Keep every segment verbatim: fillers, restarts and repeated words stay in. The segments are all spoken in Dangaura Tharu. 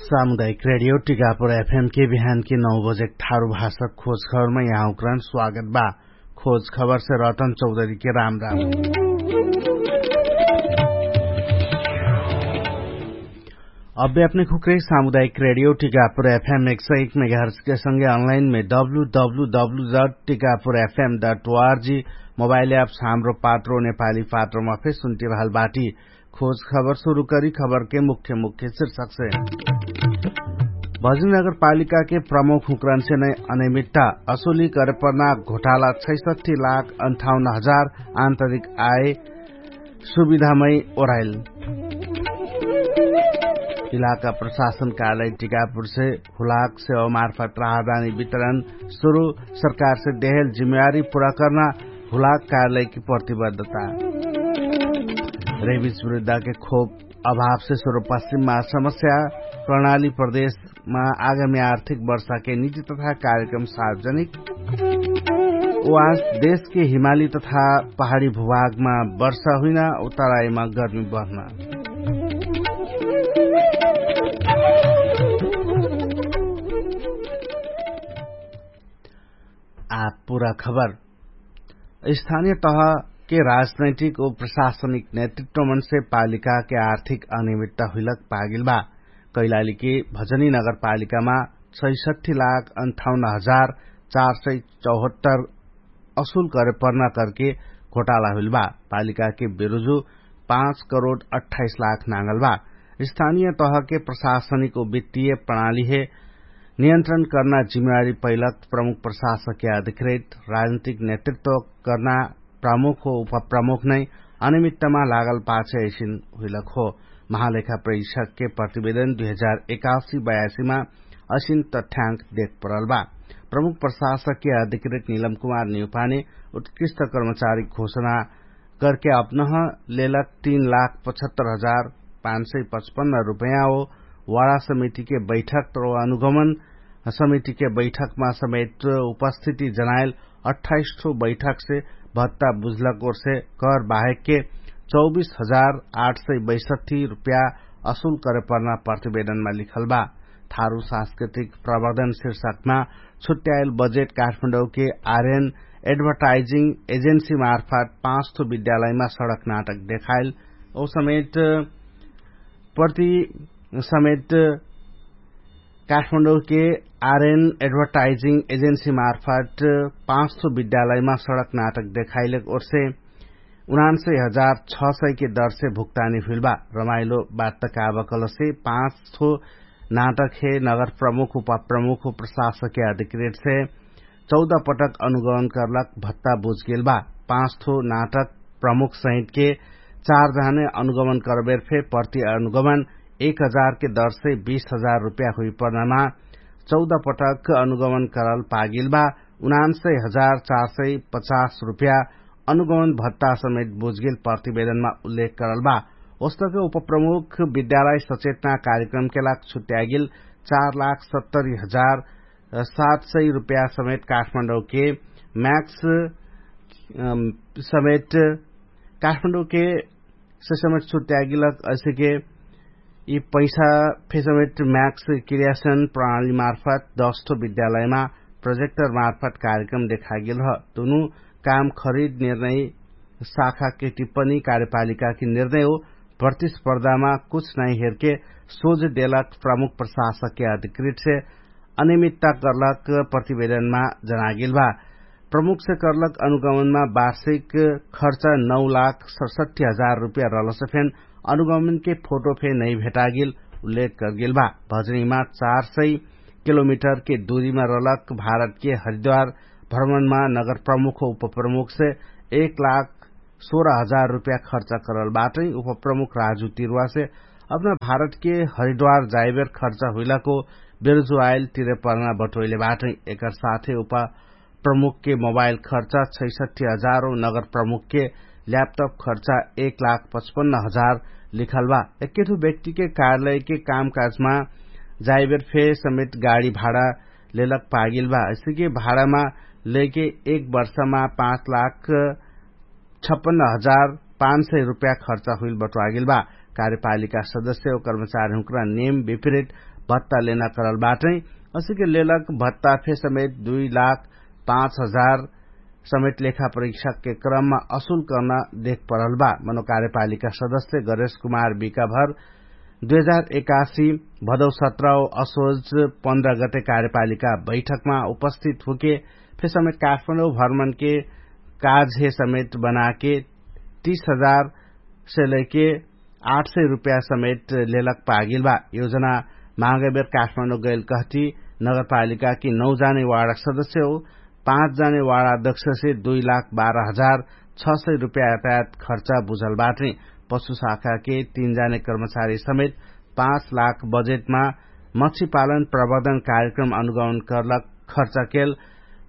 सामुदायिक रेडियो टिकापुर एफएम के बिहान के नौ बजे ठारु भाषा खोज खबरमा यहाँ उक्रान स्वागत बा। खोज खबर से रतन चौधरी के राम राम। अब्बे अपने खुक्रे सामुदायिक रेडियो टिकापुर एफएम एक सौ एक मेगाहर्स के संगे अनलाइन में W W W dot Tikapur FM dot ORG mobile apps Hamro Patro नेपाली पात्रोमा फेर सुन्टिरहल बाटी। खोज खबर सुरु करी खबर के मुख्य मुख्य शीर्षक से। भजनी नगरपालिका के प्रमुख हुक्रन से नै अनियमित्ता असुली करे पर्ना घोटाला छैसठी लाख अन्ठाउन्न हजार आन्तरिक आय सुविधामै ओराइल। इलाका प्रशासन कार्यालय टिकापुर से हुलाक सेवा मार्फत राहदानी वितरण सुरु सरकार से देहेल जिम्मेवारी पुरा कर्ना हुलाक कार्यालय की प्रतिबद्धता। रेबिस विरुद्धा के खोप अभाव से सुरु पश्चिममा समस्या प्रणाली प्रदेशमा आगामी आर्थिक वर्षा के निजी तथा कार्यक्रम सार्वजनिक। वास देश के हिमाली तथा पहाडी भूभागमा वर्षा हुइना उत्तरायमा गर्मी बढ्ना। आ पुरा खबर। स्थानिय तह के राजनैतिक ओ प्रशासनिक नेतृत्वमन से पालिका के आर्थिक अनियमित्ता हुइलक पागिल बा। कैलाली के भजनी नगरपालिकामा छैसठी लाख अन्ठाउन्न हजार चार सय चौहत्तर असुल करे पर्ना करके घोटाला हुइल बा। पालिका के बेरुजु पाँच करोड अट्ठाइस लाख नागल बा। स्थानिय तह के प्रशासनिक ओ वित्तीय प्रणाली हे नियन्त्रण कर्ना जिम्मेवारी पैलक प्रमुख प्रशासक या अधिकृत राजनीतिक नेतृत्व कर्ना प्रमुख हो उपप्रमुख नै अनियमित्तमा लागल पाछे ऐसिन हुइलक हो। महालेखा प्रेक्षक के प्रतिवेदन दुई हजार एकासी बयासीमा असिन तथ्याङ्क देख परल बा। प्रमुख प्रशासक के अधिकृत निलम कुमार निउपाने उत्कृष्ट कर्मचारी घोषणा करके अपनह लेलक तीन लाख पचहत्तर हजार पाँच सय पचपन्न रुपैयाँ हो। वाडा समिति के बैठक र अनुगमन समिति के बैठकमा समेत उपस्थिति जनाइल अट्ठाइस ठो बैठक से भत्ता बुझलक ओर से कर बाहेक के चौबीस हजार आठ सय बैसठी रुपैयाँ असुल करे पर्ना प्रतिवेदनमा लिखल बा। थारु सांस्कृतिक प्रवर्धन शीर्षकमा छुट्याइल बजेट काठमाडौँ के आर्यन एडभर्टाइजिङ एजेन्सी मार्फत पाँच थो विद्यालयमा सडक नाटक देखाइल। ओ समेत प्रति समेत काठमाडौँ के आर्यन एडभर्टाइजिङ एजेन्सी मार्फत पाँच थो विद्यालयमा सडक नाटक देखाइल ओर्से उनान्सय हजार छ सय के दरसे भुक्तानी हुइल बा। रमाइलो बात तकाबकलसे पाँच थो नाटक हे नगर प्रमुख उपप्रमुख प्रशासक के अधिकृत से चौध पटक अनुगमन करलक भत्ता बुझगेल बा। पाँच थो नाटक प्रमुख सहित के चार जहाने अनुगमन करबेर फे प्रति अनुगमन एक हजार के दरसे बीस हजार रुपैया हुइपर्नामा चौध पटक अनुगमन करल पागेल बा। उनान्सय हजार चार सय पचास रुपैया अनुगमन भत्ता समेत बुझगेल प्रतिवेदनमा उल्लेख करल बा। ओस्तके उपप्रमुख विद्यालय सचेतना कार्यक्रम के लाग छुट्यागेल चार लाख सत्तरी हजार सात सय रुपैया समेत काठमाडौँ के म्याक्स समेत काठमाडौँ के ससमेत छुट्यागेल। असिके यि पैसा फेसमेट म्याक्स क्रियासन प्रणाली मार्फत दस थो विद्यालयमा प्रोजेक्टर मार्फत कार्यक्रम देखागेल ह। दुनु काम खरिद निर्णय शाखा के टिप्पणी कार्यपालिका के निर्णय हो। प्रतिस्पर्धामा कुछ नाइ हेरके सोझ देलक प्रमुख प्रशासक के अधिकृत से अनियमित्ता कर्लक प्रतिवेदनमा जनागेल बा। प्रमुख से कर्लक अनुगमनमा वार्षिक खर्च नौ लाख सडसठी हजार रुपैया रहलसे फेन अनुगमन के फोटो फे नै भेटागेल उल्लेख करगेल बा। भजनीमा चार सय किलोमिटर के दुरीमा रहलक भारत के हरिद्वार भ्रमणमा नगर प्रमुख उपप्रमुख से एक लाख सोह्र हजार रुपैया खर्च करल बाटै। उपप्रमुख राजु तिरुवा से अपना भारत के हरिद्वार जाइबेर खर्च हुइलाको बेरुजुवाइल तिरे पर्ना बटोइले बाटै। एकर साथे उपप्रमुख के मोबाइल खर्च छैसठी हजार और नगर प्रमुख के ल्यापटप खर्च एक लाख पचपन्न हजार लिखल बा। एक्केठो व्यक्ति के कार्यालय के कामकाजमा जाइबेर फे समेत गाडी भाडा लेलक पागिल बा। ऐसे के भाडामा लेके एक वर्षमा पाँच लाख छप्पन्न हजार पाँच सय रुपैया खर्च हुइल बटुवागेल बा। कार्यपालिका सदस्य और कर्मचारी हुँक्रा नेम विपरीत भत्ता लेना करल बाटै। असिके लेलक भत्ता फे समेत दुई लाख पाँच हजार समेत लेखा परीक्षाके क्रममा असुल कर्ना देख परल बा। मनो कार्यपालिका सदस्य गरेश कुमार बिकाभर दुई हजार एकासी भदौ सत्रौ असोज पन्ध्र गते कार्यपालिका बैठकमा उपस्थित हुके फे समेत काठमाडौँ भ्रमणके काजहे समेत बनाके तीस हजार से लैके आठ सय रुपैया समेत लेलक पागेल बा। योजना मागैबेर काठमाडौँ गैल कहती नगरपालिका कि नौ जाने वार्डक सदस्य हो पाँच जाने वार्ड अध्यक्ष से दुई लाख बाह्र हजार छ सय रुपैया यातायात खर्चा बुझल बाटै। पशु शाखाके तीन जाने कर्मचारी समेत पाँच लाख बजेटमा मच्छी पालन प्रबन्धन कार्यक्रम अनुगमन कर्लक खर्चाकेल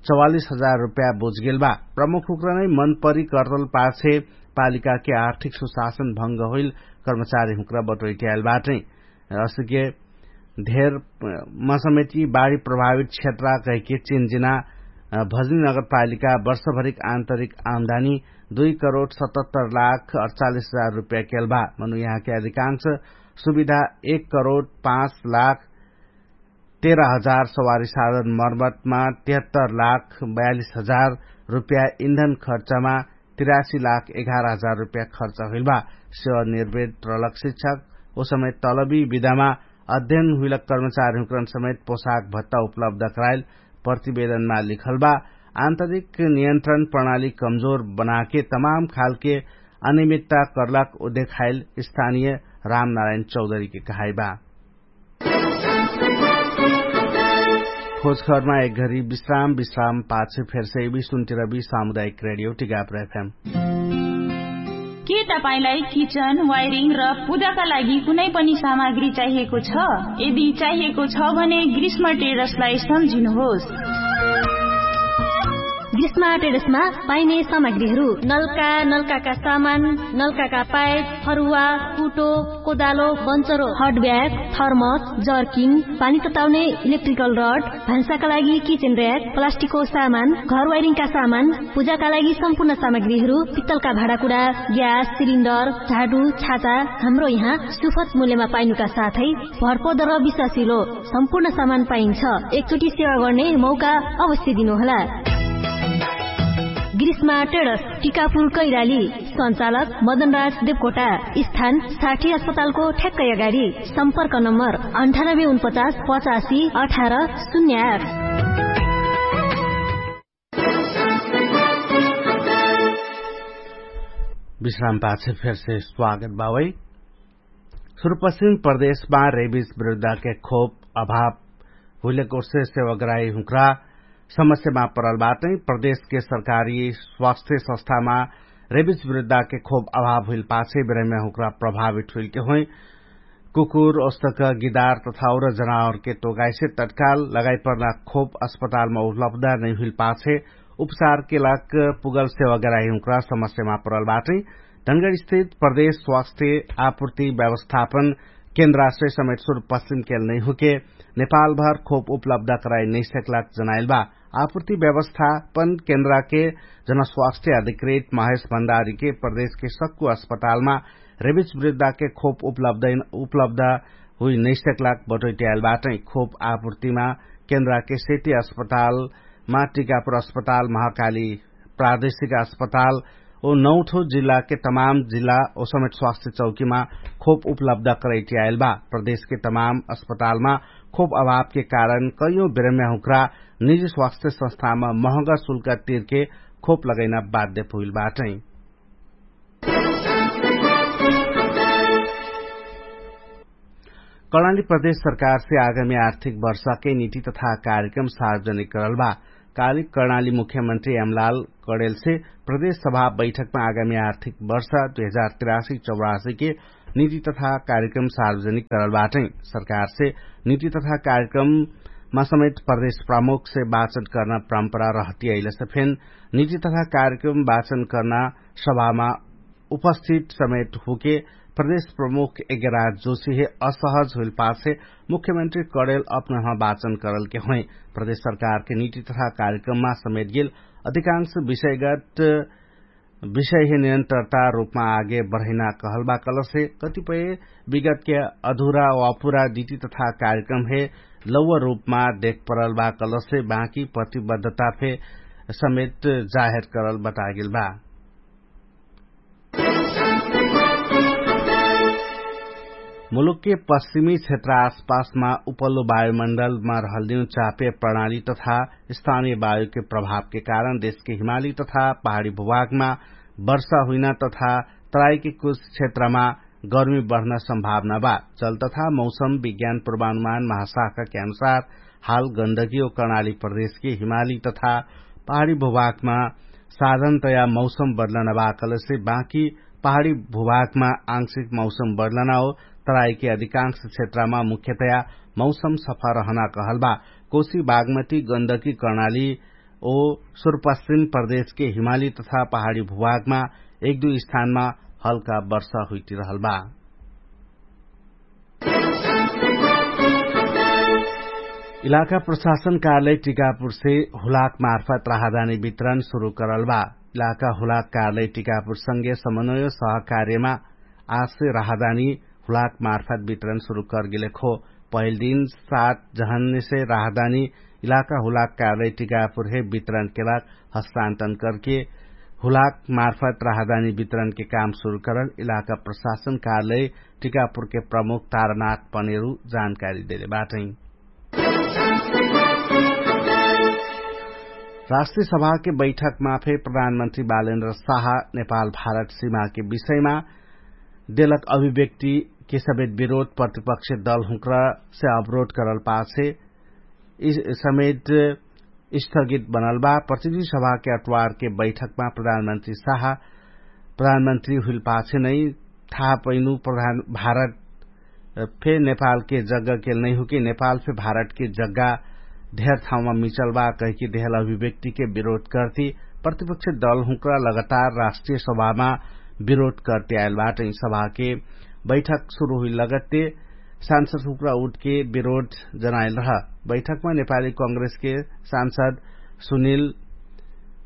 चौवालिस हजार रुपैया बुझगेल बा। प्रमुख हुक्रा नै मनपरी कर्तल पाछे पालिकाके आर्थिक सुशासन भङ्ग होइल कर्मचारी हुक्रा बटोइट्याएल बाटै। असके धेर मसमेती बाढी प्रभावित क्षेत्रा कहिके चिन्जिना भजनी नगरपालिका वर्षभरिक आन्तरिक आम्दानी दुई करोड सतहत्तर लाख अठचालिस हजार रुपैया केल बा। मनु यहाँके अधिकांश सुविधा एक करोड पाँच लाख तेह्र हजार सवारी साधन मर्मतमा तेहत्तर लाख बयालिस हजार रुपैया इन्धन खर्चमा तिरासी लाख एघार हजार रुपैया खर्च हुइल बा। सेवा निर्वेद रलक शिक्षक ओ समय तलबी विधामा अध्ययन हुइलक कर्मचारी हुँकरन समेत पोशाक भत्ता उपलब्ध कराइल प्रतिवेदनमा लिखल बा। आन्तरिक नियन्त्रण प्रणाली कमजोर बनाके तमाम खालके अनियमित्ता कर्लाक उदेखाइल स्थानीय रामनारायण चौधरीके कहाइ बा। खोजखबरमा एक घरी विश्राम विश्राम पाछे फेरसे विश्वन्तिरवी सामुदायिक रेडियो टिगाप रहेफेम। के तपाईंलाई किचन वायरिङ र पूजाका लागि कुनै पनि सामग्री चाहिएको छ? यदि चाहिएको छ भने ग्रीष्म टेरसलाई सम्झिनुहोस्। ग्रीष्म टेरसमा पाइने सामग्रीहरू नल्का नल्काका सामान, नल्काका पाइप, फरुवा, कुटो, कोदालो, बन्चरो, हटब्याग, थर्मस, जर्किङ, पानी तताउने इलेक्ट्रिकल रड, भान्साका लागि किचेन र्याक, प्लास्टिकको सामान, घर वाइरिङका सामान, पूजाका लागि सम्पूर्ण सामग्रीहरू, पित्तलका भाँडाकुडा, ग्यास सिलिन्डर, झाडु, छाता, हाम्रो यहाँ सुफत मूल्यमा पाइनुका साथै भरपद र विश्वासिलो सम्पूर्ण सामान पाइन्छ। एकचोटि सेवा गर्ने मौका अवश्य दिनुहोला। ग्रीष्मा टेडस, टिकापुर कैराली। सञ्चालक मदनराज देवकोटा। स्थान साठी अस्पतालको ठ्याक्कै अगाडि। सम्पर्क नम्बर अन्ठानब्बे उनपचास पचासी अठार शून्य आठ। विश्राम पाछे फेरसे स्वागत बावै। सुरुपश्चिम प्रदेशमा रेबिज विरुद्धके खोप अभाव हुइलेकोर्से सेवाग्राही हुँक्रा समस्यामा परल बाटै। प्रदेशके सरकारी स्वास्थ्य संस्थामा रेबिज विरुद्धके खोप अभाव हुइल पाछे बिरैम्या हुँक्रा प्रभावित हुइलके होइ। कुकुर ओस्तक गिदार तथा और जनावरके तोगाइसे तत्काल लगाइपर्ना खोप अस्पतालमा उपलब्ध नैहुइल पाछे उपचारके लाग पुगल सेवाग्राही हुँक्रा समस्यामा परल बाटै। धनगढ स्थित प्रदेश स्वास्थ्य आपूर्ति व्यवस्थापन केन्द्राश्रय समेत सुरुपश्चिम केल नैहुके नेपालभर खोप उपलब्ध कराइ नैसक्लाक जनाइल बा। आपूर्ति व्यवस्थापन केन्द्राके जनस्वास्थ्य अधिकृत महेश भण्डारीके प्रदेशके सक्कु अस्पतालमा रेबिज विरुद्धके खोप उपलब्ध हुइ नैसक्लाक बटोइट्याइल बाटै। खोप आपूर्तिमा केन्द्राके सेती अस्पतालमा टिकापुर अस्पताल महाकाली प्रादेशिक अस्पताल ओ नौठो जिल्लाके तमाम जिल्ला ओ समेत स्वास्थ्य चौकीमा खोप उपलब्ध करैट्याइल बा। प्रदेशके तमाम अस्पतालमा खोप अभावके कारण कैयौं बिरम्या हुँक्रा निजी स्वास्थ्य संस्थामा महँगा शुल्क तिरके खोप लगैना बाध्य पुइल बाटै। कर्णाली प्रदेश सरकारसे आगामी आर्थिक वर्षके निति तथा कार्यक्रम सार्वजनिक करल बा। काली कर्णाली मुख्यमन्त्री एमलाल कडेलसे प्रदेश सभा बैठकमा आगामी आर्थिक वर्ष दुई हजार तिरासी चौरासीके निति तथा कार्यक्रम सार्वजनिक करल बाटै। सरकारसे निति तथा कार्यक्रममा समेत प्रदेश प्रमुखसे वाचन कर्ना परम्परा रहतियैलसे फेन निति तथा कार्यक्रम वाचन कर्ना सभामा उपस्थित समेत हुके प्रदेश प्रमुख एगेराज जोशीहे असहज हुइल पाछे मुख्यमन्त्री कडेल अपनहमा वाचन करलके होइ। प्रदेश सरकारके निति तथा कार्यक्रममा समेत गेल अधिकांश विषयगत विषय हे निरन्तरता रूपमा आगे बढैना कहल बा कलसे कतिपय विगतके अधुरा वा पुरा दिति तथा कार्यक्रम हे लौवा रूपमा देख परल बा कलसे बाँकी प्रतिबद्धता फे समेत जाहेर करल बतागेल बा। मुलुकके पश्चिमी क्षेत्र आसपासमा उपल्लो वायुमण्डलमा रहलिउ चापे प्रणाली तथा स्थानीय वायुके प्रभावके कारण देशके हिमाली तथा पहाडी भूभागमा वर्षा हुइना तथा तराईके कुछ क्षेत्रमा गर्मी बढ्न सम्भावना बा। जल तथा मौसम विज्ञान पूर्वानुमान महाशाखाके अनुसार हाल गन्दगी ओ कर्णाली प्रदेशके हिमाली तथा पहाडी भूभागमा साधनतया मौसम बदलना बा कलसे बाँकी पहाडी भूभागमा आंशिक मौसम बदलना ओ तराईके अधिकांश क्षेत्रमा मुख्यतया मौसम सफा रहना कहल बा। कोशी बागमती गन्दगी कर्णाली ओ सुरपश्चिम प्रदेशके हिमाली तथा पहाडी भूभागमा एक दुई स्थानमा हल्का वर्षा हुइटिरहल बा। इलाका प्रशासन कार्यालय टिकापुरसे हुलाक मार्फत राहदानी वितरण सुरु करल बा। इलाका हुलाक कार्यालय टिकापुरसँगे समन्वय सहकार्यमा आसे राहदानी हुलाक मार्फत वितरण सुरु करगेले खो। पहिल दिन सात जहन्नेसे राहदानी इलाका हुलाक कार्यालय टिकापुर हे वितरण केलाक हस्तान्तरण करके हुलाक मार्फत राहदानी वितरणके काम सुरु करल इलाका प्रशासन कार्यालय टिकापुरके प्रमुख तारनाथ पनेरु जानकारी देले बाटै। राष्ट्रिय सभाके बैठकमा फे प्रधानमन्त्री बालेन्द्र साहा नेपाल भारत सीमाके विषयमा देलक अभिव्यक्ति के समेत विरोध प्रतिपक्ष दल हुँक्र से अवरोध करल पाछे समेत स्थगित बनल बा। प्रतिनिधि सभाके अटवारके बैठकमा प्रधानमन्त्री साहा प्रधानमन्त्री हुइल पाछे नै थाहा पैनु प्रधान भारत फे नेपालके जग्गाके नैहुके नेपाल फे भारतके जग्गा धेर ठाउँमा मिचल बा कहिके देहल अभिव्यक्तिके विरोध कर्ति प्रतिपक्ष दल हुँक्रा लगातार राष्ट्रिय सभामा विरोध कर्ति आएल बाटै। सभाके बैठक सुरु हुइल लगत्ते सांसद हुँक्रा उठके विरोध जनाएल रह। बैठकमा नेपाली कांग्रेसके सांसद सुनिल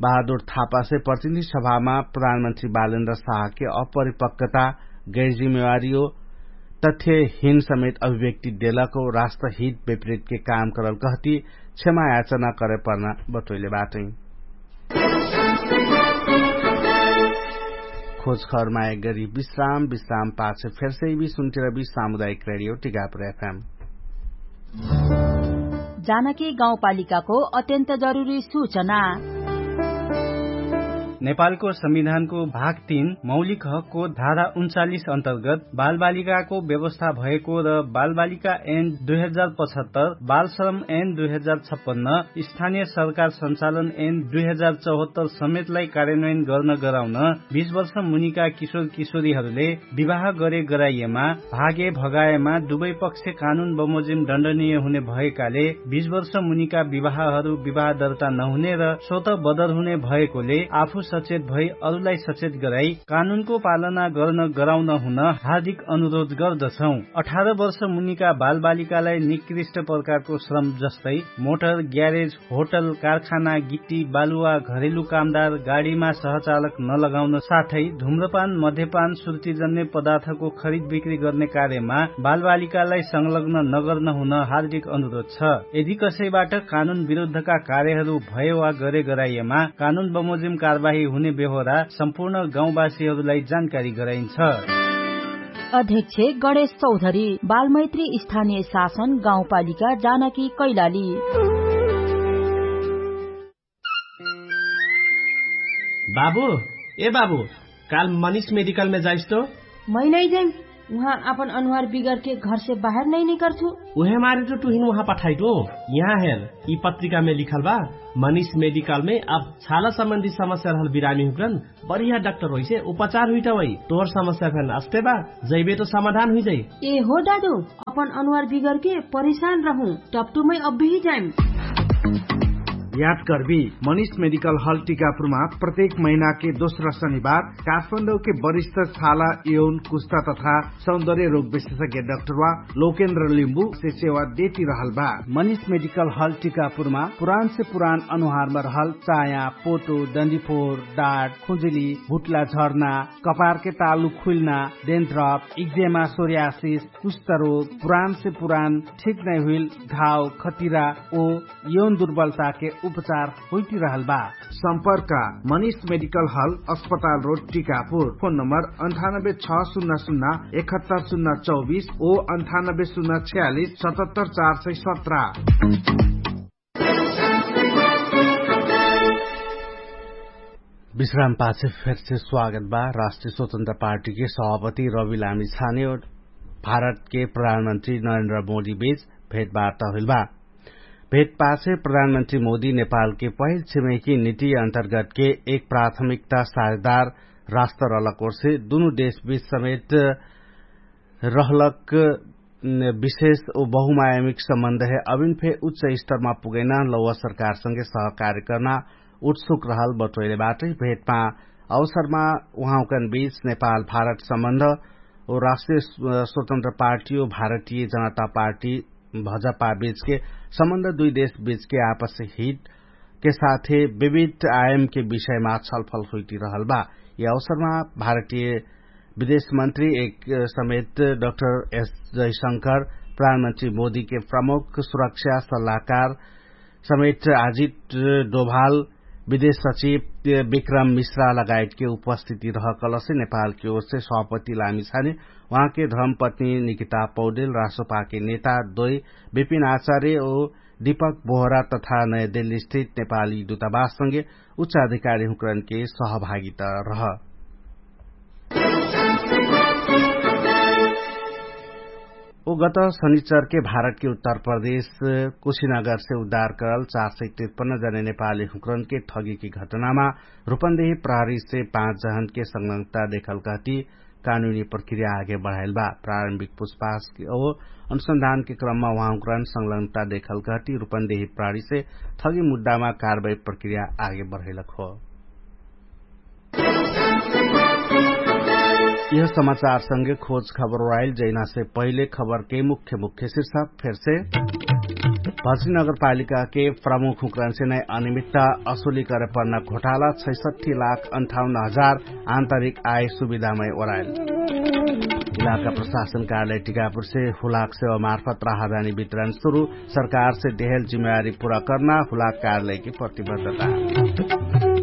बहादुर थापासे प्रतिनिधि सभामा प्रधानमन्त्री बालेन्द्र साहके अपरिपक्वता गैरजिम्मेवारी ओ तथ्यहीन समेत अभिव्यक्ति देलक ओ राष्ट्रहित विपरीतके काम करल कहती क्षमा याचना करे पर्ना बटोइले बाटै। खोजखर माया गरी विश्राम विश्राम पाछ फेरसे भी सुन्तिर भी सामुदायिक रेडियो टिकापुर एफएम। जानकी गाउँपालिकाको अत्यन्त जरुरी सूचना। नेपालको संविधानको भाग तीन मौलिक हकको धारा उन्चालिस अन्तर्गत बालबालिकाको व्यवस्था भएको र बालबालिका एन दुई हजार पचहत्तर बालश्रम एन दुई हजार छप्पन्न स्थानीय सरकार सञ्चालन एन दुई हजार चौहत्तर समेतलाई कार्यान्वयन गर्न गराउन बिस वर्ष मुनिका किशोर किशोरीहरूले विवाह गरे गराइएमा भागे भगाएमा दुवै पक्ष कानुन बमोजिम दण्डनीय हुने भएकाले बिस वर्ष मुनिका विवाहहरू विवाह दर्ता नहुने र स्वत बदर हुने भएकोले आफू सचेत भई अरूलाई सचेत गराई कानुनको पालना गर्न गराउन हुन हार्दिक अनुरोध गर्दछौं। अठार वर्ष मुनिका बालबालिकालाई निकृष्ट प्रकारको श्रम जस्तै मोटर ग्यारेज होटल कारखाना गिट्टी बालुवा घरेलु कामदार गाडीमा सहचालक नलगाउन साथै धुम्रपान मध्यपान सुर्तिजन्य पदार्थको खरिद बिक्री गर्ने कार्यमा बालबालिकालाई संलग्न नगर्न हुन हार्दिक अनुरोध छ। यदि कसैबाट कानुन विरुद्धका कार्यहरू भए वा गरे गराइएमा कानुन बमोजिम कारवाही हुने बेहोरा सम्पूर्ण गाउँवासीहरूलाई जानकारी गराइन्छ। अध्यक्ष गणेश चौधरी बालमैत्री स्थानीय शासन गाउँपालिका जानकी कैलाली। बाबु, ए बाबु, काल मनिष मेडिकलमे जाइस्तो? मै नै जाइम। उहाँ आपन अनुहार बिगरके घरसे बाहेर नै निकर्छु। उहे मारे त तुहिन उहाँ पठाइटो। यहाँ हेर, यि पत्रिकामे लिखल बा, मनिष मेडिकलमे अब छाला सम्बन्धी समस्या रहल बिरामी हुक्रन बढिया डाक्टर होइसे उपचार हुइटा वै। तोहर समस्या फेन अस्ते बा, जैबे त समाधान हुइजै। ए हो दादु, अपन अनुहार बिगरके परिशान रहु। टप्टुमै अब्बेही जाइम। याद कर्बी, मनिष मेडिकल हल टिकापुरमा प्रत्येक महिनाके दोस्रा शनिबार काठमाडौके वरिष्ठ छाला, यौन, कुस्ता तथा सौन्दर्य रोग विशेषज्ञ डाक्टरवा लोकेन्द्र लिम्बु से सेवा देती रहल बा। मनिष मेडिकल हल टिकापुरमा पुरान से पुरान अनुहारमा रहल चाया, पोटो, डन्डीफोर, डाट, खुजुली, भुट्ला झर्ना, कपारके तालु खुइल्ना, डेन्थ्रप, इक्जेमा, सोर्यासिस, कुष्ठरोग, पुरान से पुरान ठिक नै हुइल घाव, खतिरा ओ यौन दुर्बलताके उपचार होइटिरहल बा। सम्पर्क, मनिष मेडिकल हल, अस्पताल रोड, टिकापुर। फोन नम्बर अन्ठानब्बे छ सुन्ना सुन्ना एकहत्तर सुन्ना चौबिस ओ अन्ठानब्बे सुन्ना छ्यालिस सतहत्तर चार सय सत्र। विश्राम पाछे फेरसे स्वागत बा। राष्ट्रिय स्वतन्त्र पार्टीके सभापति रवि लामी छाने और भारतके प्रधानमन्त्री नरेन्द्र मोदी बीच भेटवार्ता होइल बा। भेटपाछे प्रधानमन्त्री मोदी नेपालके पहिल छिमेकी नीति अन्तर्गतके एक प्राथमिकता साझेदार राष्ट्र रहलक ओर्से दुनु देशबीच समेत रहलक विशेष ओ बहुमायमिक सम्बन्ध हे अभिन फे उच्च स्तरमा पुगैना लौवा सरकारसँगे सहकार्य कर्ना उत्सुक रहल बटोइले बाटै। भेटमा अवसरमा उहाँकन बीच नेपाल भारत सम्बन्ध ओ राष्ट्रिय स्वतन्त्र पार्टी ओ भारतीय जनता पार्टी भजपा बीचके सम्बन्ध दुई देशबीचके आपस हितके साथे विविध आयमके विषयमा छलफल होइटिरहल बा। यि अवसरमा भारतीय विदेशमन्त्री एक समेत डाक्टर एस जयशंकर, प्रधानमन्त्री मोदीके प्रमुख सुरक्षा सल्लाहकार समेत आजित डोभाल, विदेश सचिव विक्रम मिश्रा लगायतके उपस्थिति रहकलसे नेपालके ओर्से सभापति लामिछाने उहाँके धर्मपत्नी निकिता पौडेल, राष्ट्रपाके नेता दोइ विपिन आचार्य ओ दीपक बोहरा तथा नयाँ दिल्ली स्थित नेपाली दुतावाससँगे उच्चाधिकारी हुँकरनके सहभागिता रह। ओ गत शनिचरके भारतके उत्तर प्रदेश कुशीनगरसे उद्धार करल चार सय तिरपन्न जने नेपाली हुँकरनके ठगीके घटनामा रुपन्देही प्रहरीसे पाँच जहनके संलग्नता देखल कहती कानुनी प्रक्रिया आगे बढाइल बा। प्रारम्भिक पुछपाछके ओ अनुसन्धानके क्रममा उहाँकरन संलग्नता देखल कहती रुपन्देही प्रहरीसे ठगी मुद्दामा कारवाही प्रक्रिया आगे बढाइलक हो। यह समाचारसँगे खोज खबर ओराइल जैनासे पहिले खबरके मुख्य मुख्य शीर्षक फेरसे। भर्सी नगरपालिकाके प्रमुख हुँकरनसे नै अनिमित्ता असुली करे पर्ना घोटाला छैसठी लाख अन्ठाउन्न हजार आन्तरिक आय सुविधामै ओराइल। इलाका प्रशासन कार्यालय टिकापुरसे हुलाक सेवा मार्फत राहदानी वितरण सुरु, सरकारसे देहल जिम्मेवारी पुरा कर्ना हुलाक कार्यालयके प्रतिबद्धता।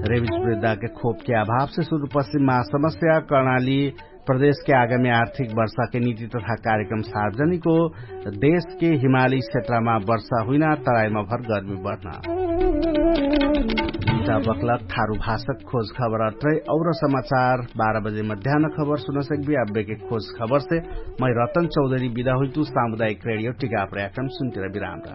रेबिज वृद्धाके खोपके अभावसे सुरुपश्चिममा समस्या कर्णाली प्रदेशके आगामी आर्थिक वर्षाके निति तथा कार्यक्रम सार्वजनिक हो। देशके हिमाली क्षेत्रमा वर्षा हुइना तराइमा भर गर्मी बढ्ना। बखलक थारु भाषक खोज खबर अत्रै और समाचार बाह्र बजे मध्यान खबर सुनसक्बी। अब्बेके खोज खबरसे मै रतन चौधरी बिदा हुइतु। सामुदायिक रेडियो टिकाप्र याक्रम सुन्तिर विराम राम।